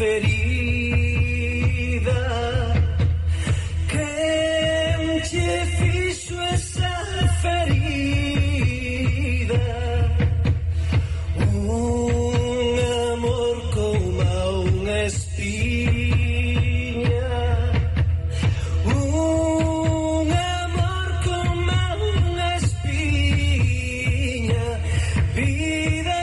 ferida. Quen che fixo esa ferida? Un amor como unha espiña. Un amor como unha espiña. Vida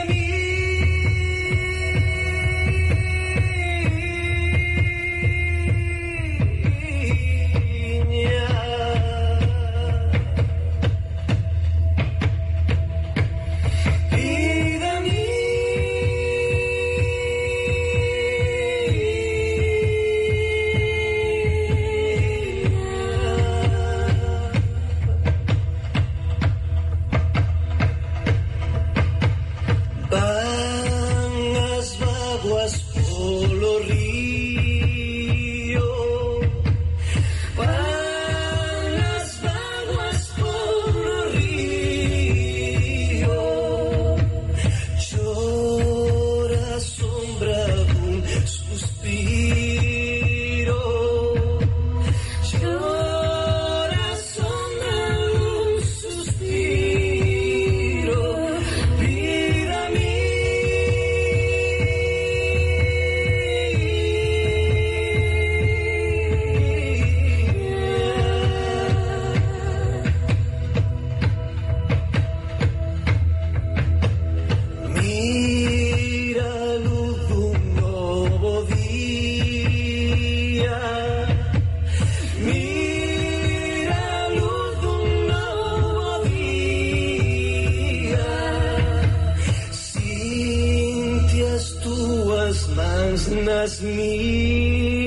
nas miñas,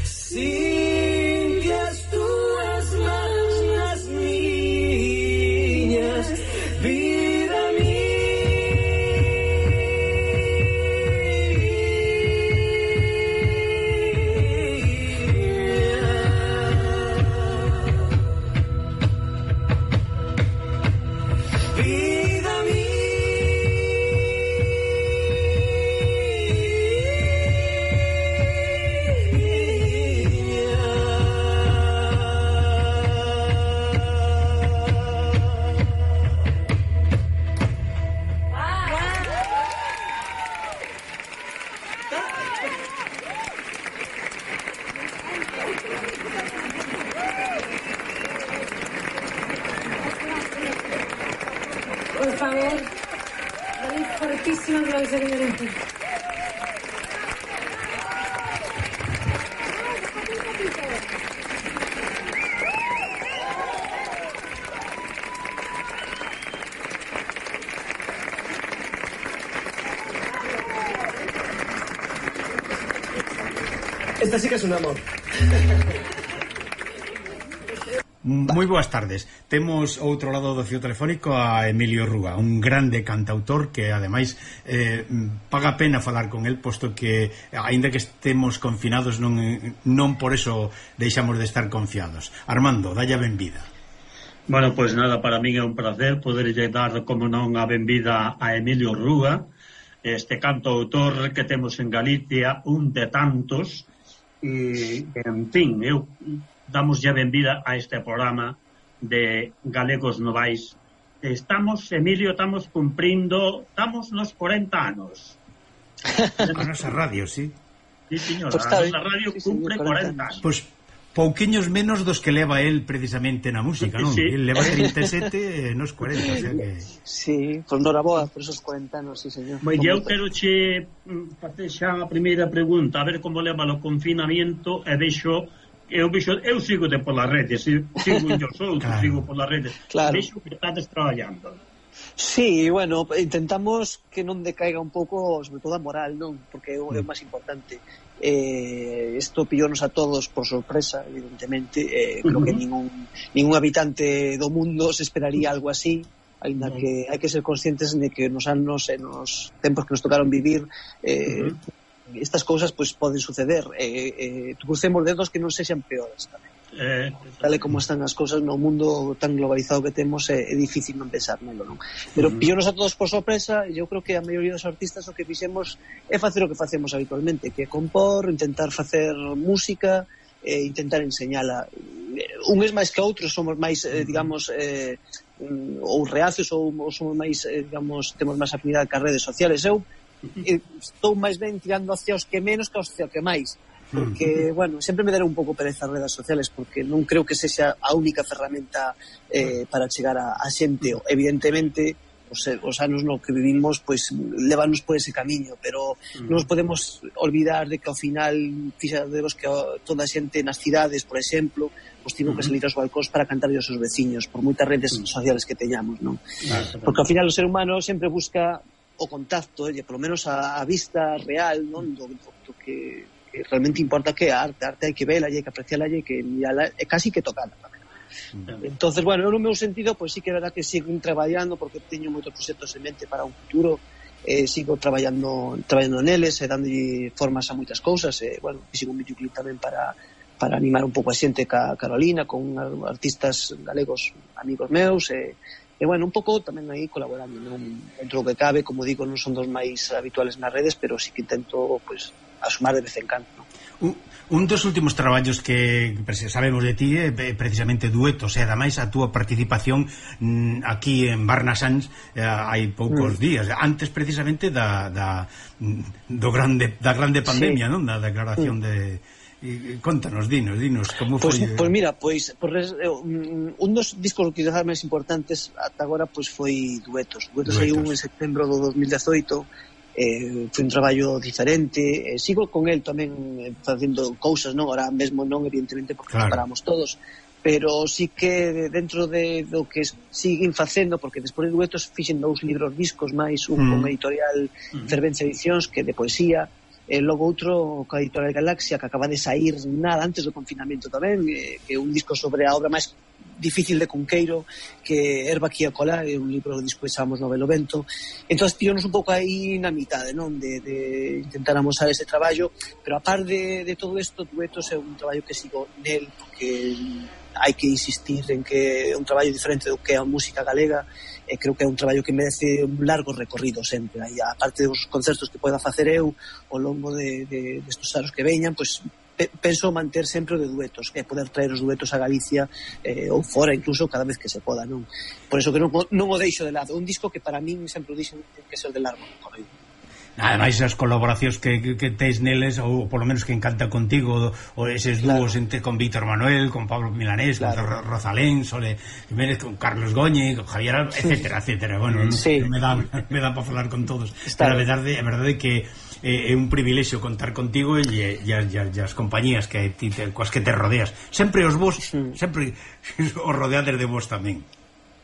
sinque as túas mans nas miñas, vida Por favor, dale fortísimo aplauso que merece. Esta sí que es un amor. Moi boas tardes. Temos ao outro lado do fío telefónico a Emilio Rúa, un grande cantautor que ademais paga pena falar con el, posto que aínda que estemos confinados non por eso deixamos de estar confiados. Armando, dalle a benvida. Bueno, pois nada, para min é un placer poderlle dar, como non, a benvida a Emilio Rúa, este cantautor que temos en Galicia, un de tantos, e, en fin, eu damos ya benvida a este programa de Galegos Novais. Estamos, Emilio, estamos nos 40 anos. A nosa radio, sí. Sí, señora, pues a nosa radio cumpre 40 anos. Pois pouquiños menos dos que leva él precisamente na música, non? Sí. Él leva 37 nos 40, o sea que... Sí, pues noraboa por esos 40 anos, sí, señor. Bueno, eu quero che facer xa a primeira pregunta, a ver como leva o confinamento, e vexo eu sigo polas redes, sigo os outros, claro. Sigo polas redes, claro. Vexo que estades traballando. Sí, bueno, intentamos que non decaiga un pouco, sobre todo a moral, non? Porque é o máis importante. Isto pillónos a todos por sorpresa, evidentemente. Creo que ningún habitante do mundo se esperaría algo así, ainda que hai que ser conscientes de que nos anos e nos tempos que nos tocaron vivir estas cousas pois poden suceder. Crucemos dedos que non sexan peores tamén. Tal e como están as cousas no mundo tan globalizado que temos, é difícil non pensar nelo, non? Pero pillonos a todos por sorpresa, e eu creo que a maioría dos artistas o que fixemos é facer o que facemos habitualmente, que é compor, intentar facer música, intentar enseñala. Uns máis que outros somos máis, digamos, ou reacios ou somos máis, digamos, temos máis afinidade cas redes sociales. Eu estou máis ben tirando hacia os que menos que aos que máis, porque, bueno, sempre me deron un pouco pereza as redes sociales, porque non creo que sexa a única ferramenta para chegar a xente. Evidentemente, os anos no que vivimos pois levanos por ese camiño, pero non nos podemos olvidar de que ao final fixadevos que toda a xente nas cidades, por exemplo, pois tivo que salir aos balcóns para cantar aos seus veciños, por moitas redes sociales que teñamos, non? Porque ao final o ser humano sempre busca o contacto, por lo menos a vista real, non? Do que realmente importa, que a arte hai que vela, hai que apreciala, hai que mirala, e casi que tocala tamén. Entonces, bueno, eu no meu sentido, pois sí que é verdad que sigo traballando, porque teño moitos proxectos en mente para un futuro, sigo traballando neles, dándolle formas a moitas cousas, bueno, sigo un videoclip tamén para animar un pouco a xente ca Carolina, con artistas galegos amigos meus, e bueno, un pouco tamén aí colaborando, non? Dentro do que cabe, como digo, non son dos máis habituales nas redes, pero sí que intento, pois, asumar de vez en cando, non? Un dos últimos traballos que sabemos de ti é precisamente duetos, e ademais a túa participación aquí en Barnasans hai poucos días, antes precisamente da grande pandemia, non? Da declaración de... Contanos, dinos como foi. Pois mira, un dos discos quizás máis importantes ata agora pois foi Duetos hai un en setembro do 2018. Foi un traballo diferente, sigo con el tamén facendo cousas, non? Ahora mesmo non, evidentemente, porque claro, paramos todos, pero sí que dentro do que siguen facendo, porque despois de Duetos fixen 2 libros discos máis, un con editorial Fervencia Edicións, que de poesía, e logo outro coa editorial Galaxia, que acaba de sair nada antes do confinamento tamén, que é un disco sobre a obra máis difícil de Cunqueiro, que Herba aquí a colar, é un libro que despois chamamos Novelo Vento. Entón, tíonos un pouco aí na mitade, non? De intentar amosar ese traballo, pero a par de todo isto, Duetos é un traballo que sigo nel, porque hai que insistir en que é un traballo diferente do que é a música galega, e creo que é un traballo que merece un largo recorrido sempre. Aí, a parte dos concertos que poida facer eu ao longo destes anos que veñan, pois penso manter sempre o de Duetos, que é poder traer os Duetos a Galicia, ou fora incluso, cada vez que se poda, non? Por eso que non o deixo de lado. Un disco que para min sempre o dixen que é o de largo recorrido. Ademais, as colaboracións que tes neles, ou polo menos que encanta contigo, ou eses dúos con Víctor Manuel, con Pablo Milanés, con Rosalén, Sole Jiménez, con Carlos Goñi, con Javier, etcétera. Bueno, sí, me dá para falar con todos. Pero a verdade que é un privilexio contar contigo e as compañías coas que te rodeas. Sempre os vos, sempre os rodeades de vos tamén.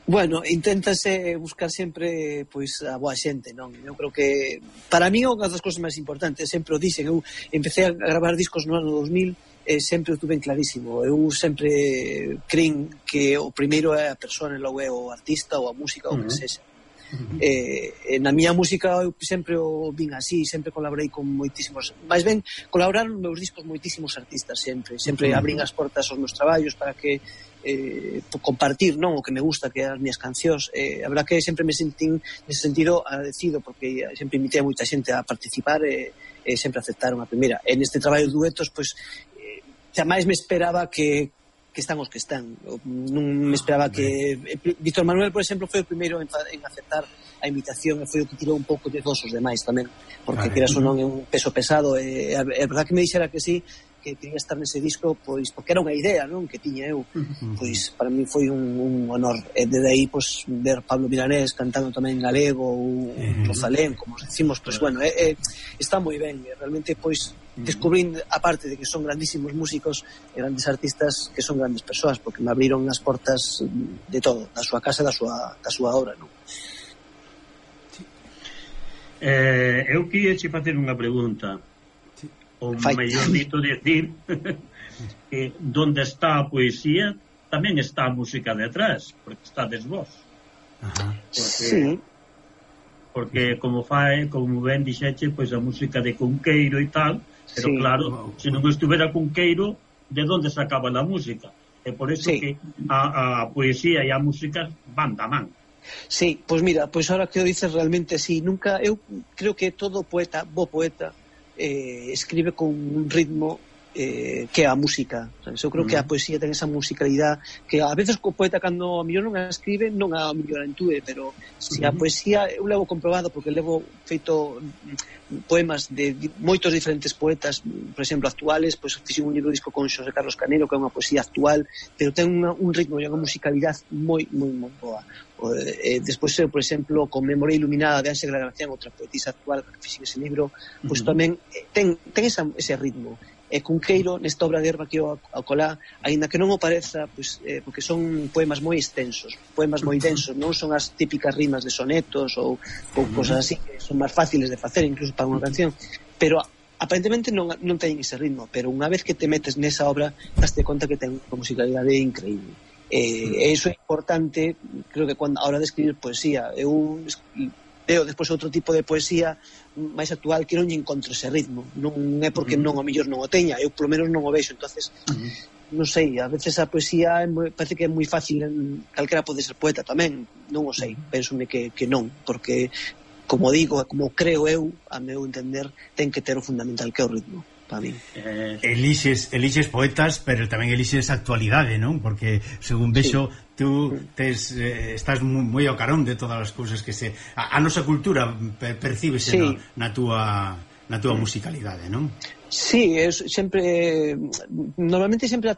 Bueno, inténtase buscar sempre pois a boa xente, non? Eu creo que para mí unha das cousas máis importantes, sempre o dixen, eu empecé a gravar discos no ano 2000 e sempre o tuve clarísimo. Eu sempre creín que o primeiro é a persona, logo é o artista ou a música ou o que sexa. Na miña música eu sempre o vin así, sempre colaborei con moitísimos, máis ben colaboraron nos meus discos moitísimos artistas, sempre abrín as portas aos meus traballos para que compartir, non, o que me gusta, que as miñas cancións. A verdad que sempre me sentín nese sentido agradecido, porque sempre invitei a moita xente a participar e sempre aceptaron a primeira. En este traballo de Duetos, pois jamais me esperaba que están os que están. Non me esperaba que... Víctor Manuel, por exemplo, foi o primeiro en aceptar a invitación, e foi o que tirou un pouco de todos os demais tamén, porque queras ou non é un peso pesado, e a verdad que me dixera que sí, que quería estar nese disco, pois porque era unha idea, non, que tiña eu, pois para mí foi un honor, e desde aí pois ver Pablo Milanés cantando tamén en galego, ou Rosalén, como decimos, pois bueno, está moi ben, realmente pois descubrín, aparte de que son grandísimos músicos e grandes artistas, que son grandes persoas, porque me abriron as portas de todo, da súa casa e da súa obra, non? Eu queria che facer unha pregunta, ou mellor dito decir que donde está a poesía tamén está a música detrás, porque estades vos. Porque como ben dixeche, pois a música de Cunqueiro e tal, pero claro, se non estuvera Cunqueiro, de onde sacaba a música? É por eso que a poesía e a música van da man. Sí, pois mira, pois ahora que o dices realmente sí, nunca, eu creo que todo poeta, bo poeta, escribe con un ritmo que é a música, sabes? Eu creo que a poesía ten esa musicalidade que a veces co poeta cando a mellor non a escribe non a mellor entúe, pero se a poesía eu levo comprobado porque levo feito poemas de moitos diferentes poetas, por exemplo, actuales, pois fixen un libro disco con Xosé Carlos Canero, que é unha poesía actual, pero ten un ritmo e unha musicalidade moi boa. Despois eu, por exemplo, con Memoria Iluminada de Ángela Gracián, outra poetisa actual que fixen ese libro, pois tamén ten ese ritmo. E Cunqueiro, nesta obra de Herba que eu acolá, aínda que non o pareza, pois, porque son poemas moi extensos, poemas moi densos, non son as típicas rimas de sonetos ou cosas así, que son máis fáciles de facer incluso para unha canción, pero aparentemente non teñen ese ritmo, pero unha vez que te metes nesa obra daste conta que ten unha musicalidade increíble. E iso é importante, creo que cando a hora de escribir poesía, eu leo despois outro tipo de poesía máis actual que non lle encontro ese ritmo, non é porque non, a mellor non o teña, eu polo menos non o vexo, entonces non sei, a veces a poesía parece que é moi fácil, calquera pode ser poeta tamén, non o sei, pensome que non, porque como digo, como creo eu, a meu entender, ten que ter o fundamental que é o ritmo para mí. Elixes poetas, pero tamén elixes actualidade, non? Porque, según vexo, tú estás moi ao carón de todas as cousas que a nosa cultura percíbese na túa musicalidade, non? Sí, sempre normalmente sempre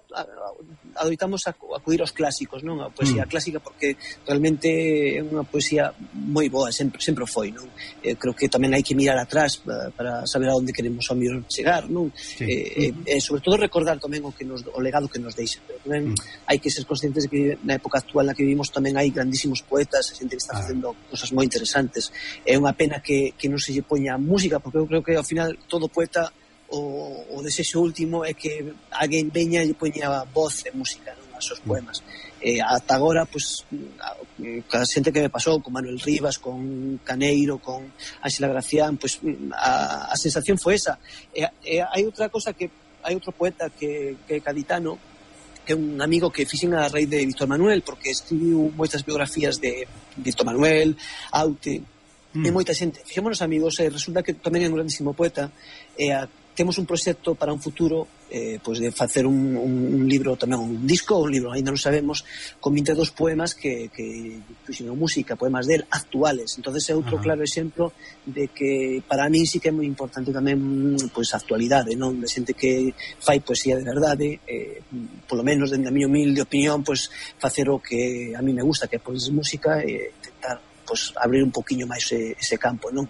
adoitamos a acudir aos clásicos, non? A poesía clásica, porque realmente é unha poesía moi boa, sempre o foi, non? Creo que tamén hai que mirar atrás para saber a onde queremos ao mellor chegar, non? E sobre todo recordar tamén o legado que nos deixa, pero tamén hai que ser conscientes de que na época actual na que vivimos tamén hai grandísimos poetas, a xente que está facendo cosas moi interesantes. É unha pena que non se lle poña música, porque eu creo que ao final todo poeta o desexo último é que alguén veña e poña voz e música, non, aos seus poemas. Ata agora, pois, a xente que me pasou con Manuel Rivas, con Caneiro, con Ángela Gracián, pois a sensación foi esa. Hai outra cosa que hai outro poeta que é gaditano, que é un amigo que fixen a raíz de Víctor Manuel, porque escribiu moitas biografías de Víctor Manuel, Aute, e moita xente. Fixémonos amigos e resulta que tamén é un grandísimo poeta, e temos un proxecto para un futuro pois de facer un libro, tamén un disco ou un libro, ainda non sabemos, con 22 poemas que puxen música, poemas del actuales. Entonces é outro claro exemplo de que para mí sí que é moi importante tamén pois a actualidade, non? De xente que fai poesía de verdade, polo menos dende a miña humilde opinión, pois facer o que a mí me gusta, que é pois música, e tentar pois abrir un poquinho máis ese campo, non?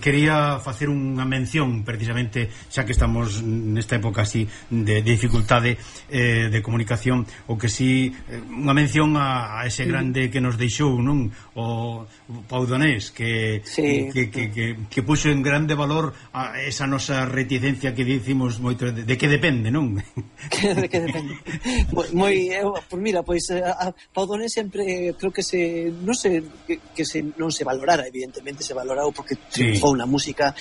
Quería facer unha mención precisamente, xa que estamos nesta época así de dificultade de comunicación, o que si unha mención a ese grande que nos deixou, non? O Pau Donés, que puxo en grande valor a esa nosa reticencia que dicimos moito de que depende, non? De que depende. Mira, pois a Pau Donés sempre creo que non se valorara, evidentemente se valorou porque triunfou na música,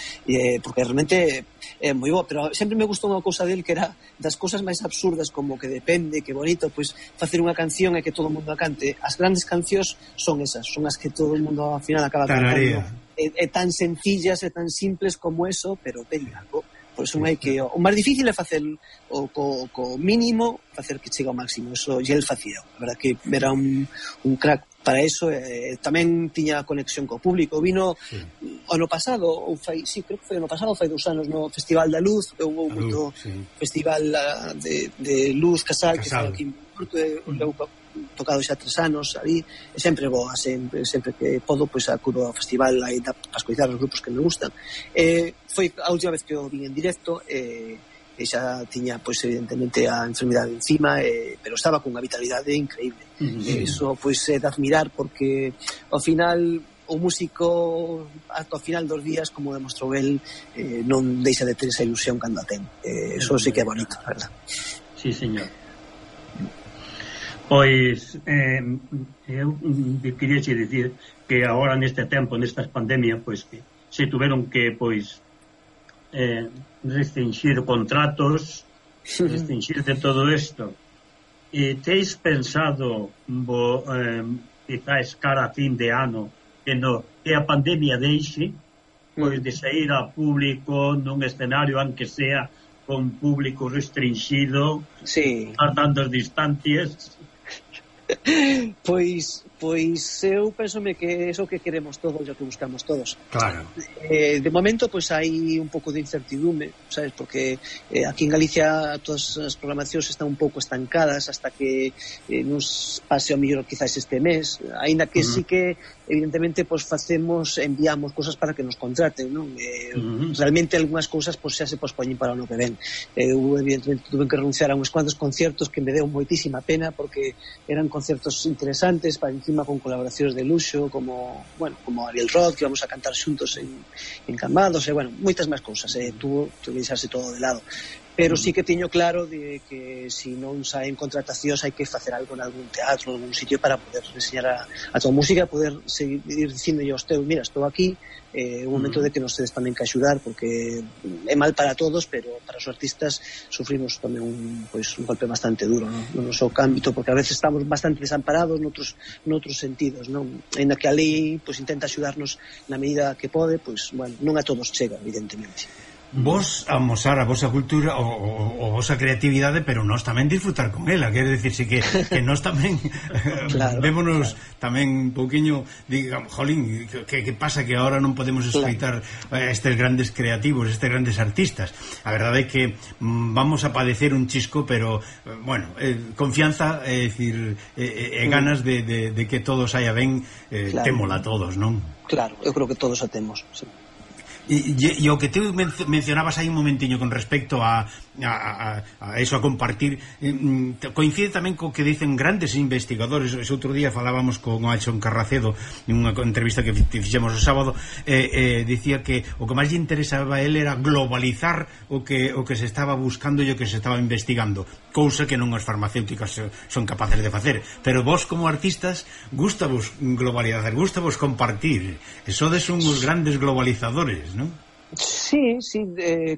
porque realmente é moi bo, pero sempre me gustou unha cousa del que era das cousas máis absurdas, como que depende, que bonito, pois facer unha canción e que todo o mundo a cante. As grandes cancións son esas, son as que todo o mundo ao final acaba cantando. É tan sencillas e tan simples como eso, pero ten algo. Por eso hai que o máis difícil é facer co mínimo, facer que chegue ao máximo. Eso e el facía. A verdad que era un crack para eso. Tamén tiña conexión co público. Vino ano pasado, creo que foi ano pasado, fai 2 anos, no Festival da Luz. Houve moito festival de Luz Casal, que foi aquí en Porto, tocado xa 3 anos ali, e sempre boa, sempre que podo, pois acudo ao festival aí para escoitar os grupos que me gustan. Foi a última vez que o vin en directo, e xa tiña, pois evidentemente a enfermidade encima, pero estaba cunha vitalidade increíble. Eso, pois, é de admirar, porque ao final o músico ata o final dos días, como demostrou el, non deixa de ter esa ilusión cando a ten. Eso sí que é bonito, verdad? Sí, señor. Pois eu queria che dicir que agora neste tempo, nestas pandemias, pois que se tuveron que pois restringir contratos restringir de todo isto. E teis pensado quizás cara a fin de ano que a pandemia deixe pois de sair a público nun escenario aunque sea con público restringido, guardando as distancias? Pois eu pensome que é o que queremos todos e o que buscamos todos. Claro. De momento pois hai un pouco de incertidume, sabes, porque aquí en Galicia todas as programacións están un pouco estancadas hasta que nos pase o mellor quizás este mes, aínda que sí que evidentemente pois enviamos cosas para que nos contraten, non? Realmente algunhas cousas pois xa se pospoñen para o ano que ven. Eu evidentemente tuve que renunciar a uns cuantos conciertos que me deu moitísima pena porque eran concertos interesantes, para encima con colaboracións de luxo como Ariel Roth, que íbamos a cantar xuntos en Cambados, e moitas máis cousas, tuvo que deixarse todo de lado. Pero sí que teño claro de que se non saen contratacións hai que facer algo en algún teatro, en algún sitio para poder enseñar a tua música, poder seguir dicindo aos teus, mira, estou aquí, un momento de que nos tedes tamén que axudar, porque é mal para todos, pero para os artistas sufrimos tamén un golpe bastante duro, no noso ámbito, porque a veces estamos bastante desamparados noutros sentidos, non? Ainda que a lei intenta axudarnos na medida que pode, non a todos chega, evidentemente. Vos amosar a vosa cultura o vosa creatividade, pero nós tamén disfrutar con ela, quer decirse que nós tamén vémonos tamén un pouquiño, digamos, jolín, que pasa que agora non podemos escoitar estes grandes creativos, estes grandes artistas. A verdade é que vamos a padecer un chisco, pero confianza, é dicir, ganas de que todo saia ben, témola todos, non? Claro, eu creo que todos a temos, sí. E o que te mencionabas aí un momentiño con respecto a eso, a compartir, coincide tamén co que dicen grandes investigadores. Ese outro día falábamos con Alxon Carracedo nunha entrevista que fixemos o sábado, dicía que o que máis lle interesaba a él era globalizar o que se estaba buscando e o que se estaba investigando, cousa que non as farmacéuticas son capaces de facer. Pero vos como artistas gústavos globalizar, gústavos compartir, e sodes uns grandes globalizadores, non? Sí,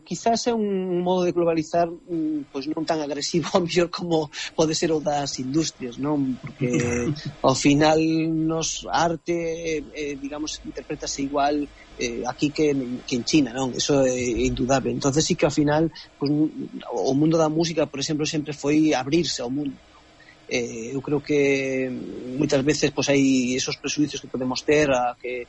quizás é un modo de globalizar non tan agresivo ao mellor como pode ser o das industrias, non? Porque ao final nos arte digamos interprétase igual aquí que en China, non? Eso é indudable. Entonces sí que ao final o mundo da música, por exemplo, sempre foi abrirse ao mundo. Eu creo que moitas veces hai esos presuicios que podemos ter a que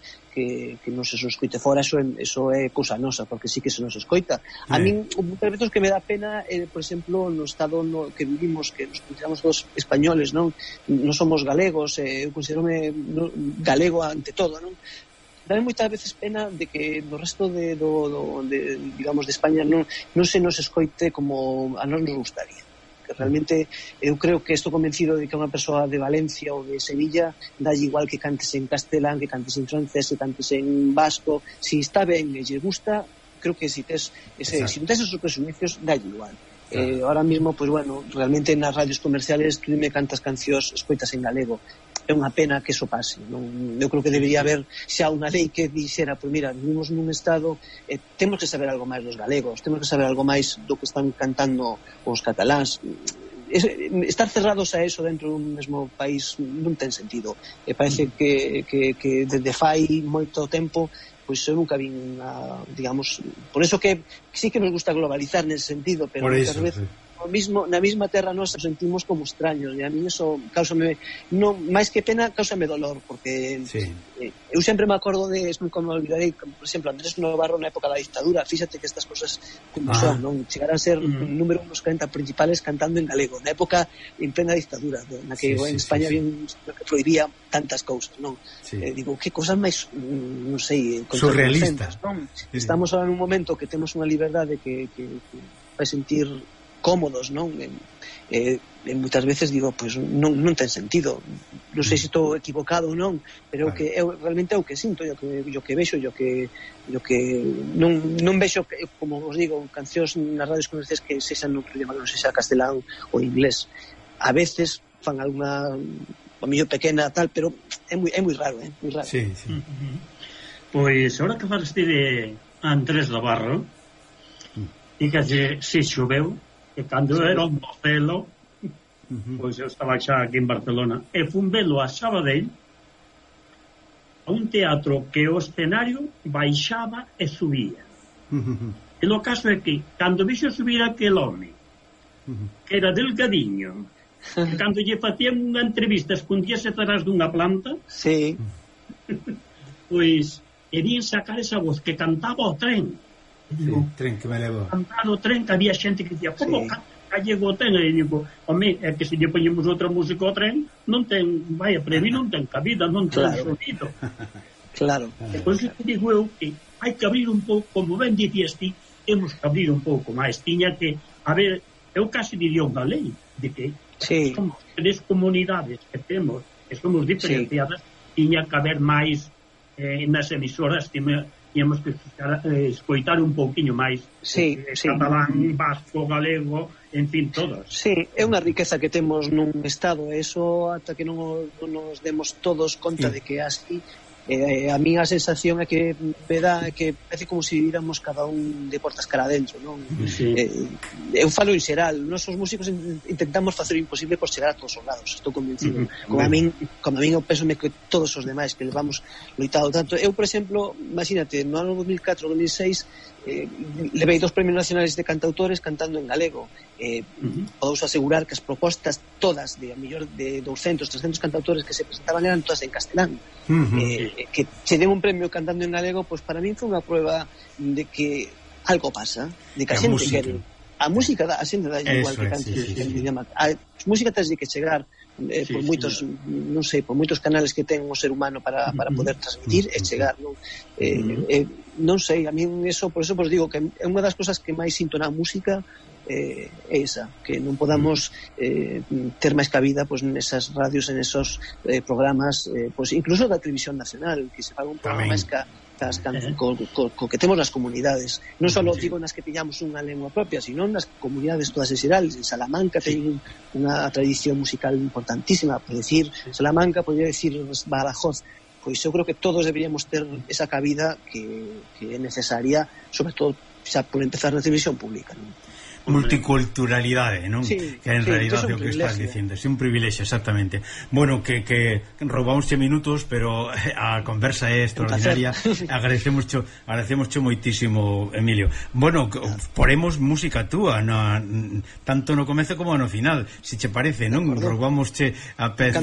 non se escoite fora, eso é cousa nosa, porque sí que se nos escoita. A min, moitas veces que me dá pena, por exemplo, no estado que vivimos, que nos consideramos todos españoles, non somos galegos, eu considero-me galego ante todo, non? Dame moitas veces pena de que no resto digamos, de España non se nos escoite como a nós nos gustaría. Realmente eu creo que estou convencido de que unha persoa de Valencia ou de Sevilla dalle igual que cantes en castelán, que cantes en francés, que cantes en vasco, si está ben e lle gusta, creo que si non tes esos presuicios, dalle igual. Ahora mismo, realmente nas radios comerciales tú me cantas cancións escoitas en galego. É unha pena que eso pase, non? Eu creo que debería haber xa unha lei que dixera, mira, vivimos nun estado, temos que saber algo máis dos galegos, temos que saber algo máis do que están cantando os cataláns. Estar cerrados a eso dentro dun mesmo país non ten sentido. Parece que desde fai moito tempo eu nunca vin digamos, por eso que sí que nos gusta globalizar nese sentido, pero muchas veces na mesma terra nos sentimos como extraños, e a mí eso cáusame, máis que pena, cáusame dolor, porque eu sempre me acordo nunca me olvidarei, por exemplo, Andrés Novarro na época da dictadura, fíxate que estas cosas como son, non? Chegaran a ser número unos 40 principales cantando en galego, na época en plena dictadura, na que en España había que prohibía tantas cousas, non? Digo, que cosas máis, non sei, surrealistas, non? Estamos ahora nun momento que temos unha liberdade que vai sentir cómodos, non? Moitas veces digo, non ten sentido. Non sei se estou equivocado ou non, pero realmente é o que sinto, o que vexo, o que non vexo, como vos digo, cancións nas radios comerciais que sexan no idioma que non sexa castelán ou inglés. A veces fan alguna a mellor pequena tal, pero é moi raro, moi raro. Sí. Pois, ahora que falaste de Andrés Novarro, dígase se choveu, E cando era un mocelo, pois eu estaba xa aquí en Barcelona, e fun velo a Sabadell, a un teatro que o escenario baixaba e subía. E o caso é que, cando vixo subir aquel home, que era delgadiño, que cando lle facían unha entrevista escondíase atrás dunha planta, Sí. pois, e vin sacar esa voz que cantaba o tren. Sí, tren que me levo. Cantar o tren, que había xente que dicía, como Sí. canta gallego o tren? E digo, home, é que se lle poñemos outra música ao tren, non ten, vaya, para mí non ten cabida, non ten sonido. Claro. Depois que digo eu que hai que abrir un pouco, como ben dicías ti, temos que abrir un pouco máis. Tiña que, a ver, eu casi diría unha lei de que somos 3 comunidades que temos, que somos diferenciadas, tiña que haber máis nas emisoras, tiñamos que escoitar un pouquiño máis catalán, vasco, galego, en fin, todos. Sí, é unha riqueza que temos nun estado, eso ata que non nos demos todos conta de que é así. A minha sensación é que me dá que parece como se viramos cada un de portas cara adentro, non? Sí. Eu falo en xeral, nós os músicos intentamos facer o imposible por chegar a todos os lados, estou convencido. Como a min eu pénsome que todos os demais que levamos loitado tanto. Eu, por exemplo, imagínate, no ano 2004-2006 levei 2 premios nacionales de cantautores cantando en galego. Podemos asegurar que as propostas todas de a mellor de 200, 300 cantautores que se presentaban eran todas en castelán. Que se den un premio cantando en galego, pues para mí foi unha prueba de que algo pasa, de que a xente quere. A música a xente dá igual que cante. A música tens que chegar por moitos, non sei, por moitos canales que ten o ser humano para poder transmitir e chegar, non? Non sei, a mí eso, por eso vos digo que é unha das cosas que máis sinto na música é esa, que non podamos ter máis cabida pues, nesas radios, en esos programas, pues, incluso da televisión nacional, que se faga un programa máis co que temos nas comunidades, non só digo nas que tiñamos unha lengua propia, sino nas comunidades todas en xeral. En Salamanca ten unha tradición musical importantísima, por decir Salamanca, podría decir Badajoz. Pois eu creo que todos deberíamos ter esa cabida que é necesaria, sobre todo xa por empezar na televisión pública, non? Multiculturalidade, non? Sí, que en realidade é o que estás dicindo, é un privilexio, exactamente. Bueno, que roubámosche minutos, pero a conversa é extraordinaria. Agradecemos moitísimo, Emilio. Bueno, poremos música túa tanto no comezo como no final, se che parece, non? Roubámosche a peza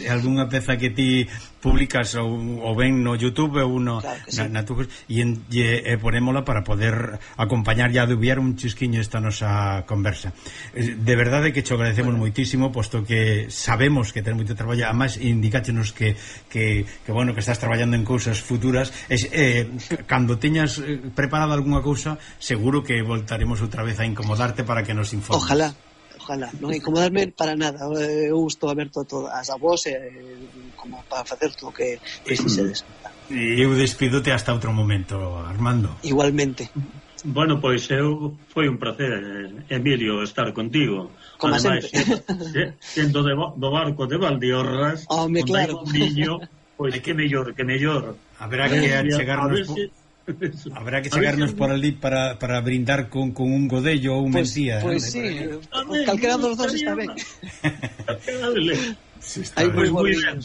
algunha peza que ti publicas ou ben no YouTube ou na tu, e ponémola para poder acompañar e adubiar un chisquiño esta nosa conversa. De verdade que te agradecemos moitísimo, posto que sabemos que ten moito traballo, además indicáchenos que bueno, que estás traballando en cousas futuras, cando teñas preparada algunha cousa, seguro que voltaremos outra vez a incomodarte para que nos informes. Ojalá, non incomodarme para nada. Eu estou aberto a vos como para facer todo o que precisedes. E eu despidote hasta outro momento, Armando. Igualmente. Bueno, pois foi un placer, Emilio, estar contigo. Como ademais, sempre. Sendo do barco de Valdiorras, onde claro. Hai un niño, pois que mellor. Habrá que chegarnos por ali para brindar con un godello ou un mentía. Pois sí, calquera dos dos está ben. Hai moi ben.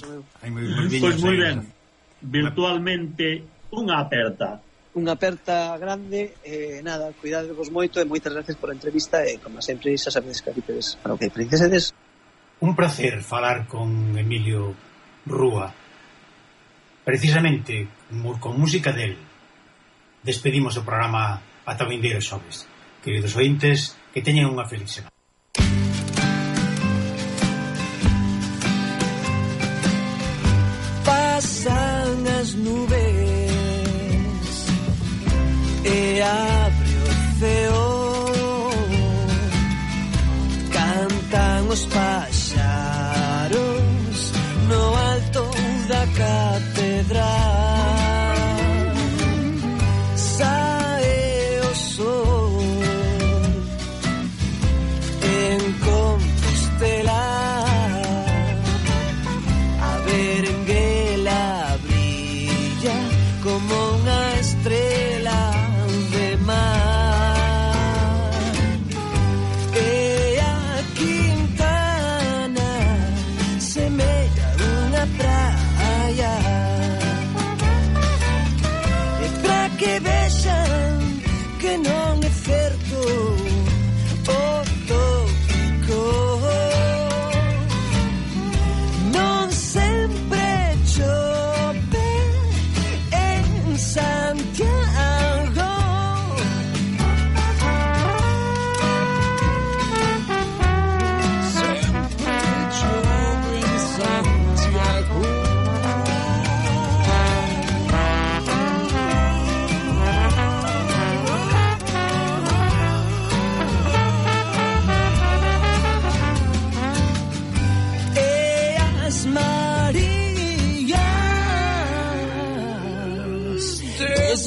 Pois moi ben. Virtualmente unha aperta grande, nada, cuidadevos moito e moitas gracias por a entrevista e como sempre xa sabedes que habitedes para o que precisedes. Un placer falar con Emilio Rúa, precisamente con música del. Despedimos o programa ata o vindeiro xoves. Queridos ointes, que teñan unha feliz semana. Pasan as nubes e abre o ceo, cantan os paxaros no alto da catedral, sae o sol en Compostela, a berenguela brilla como unha estrela de mar.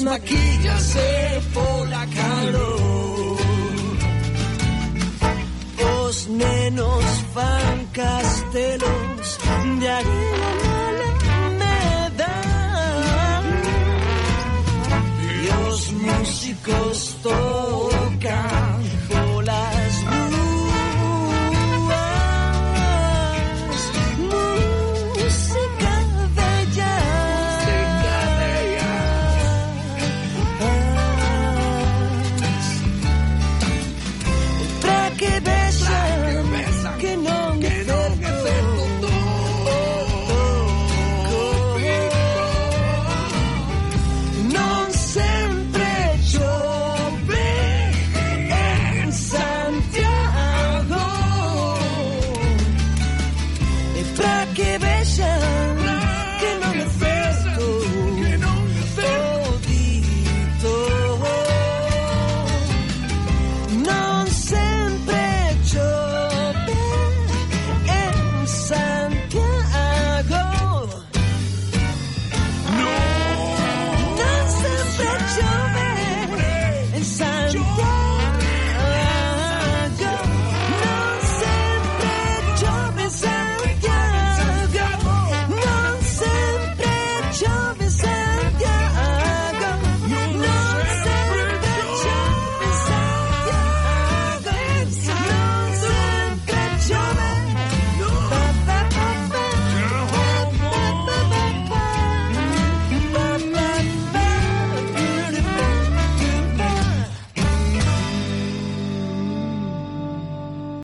maquíllase pola calor. Os nenos fan castelos de arena na alameda e os músicos todos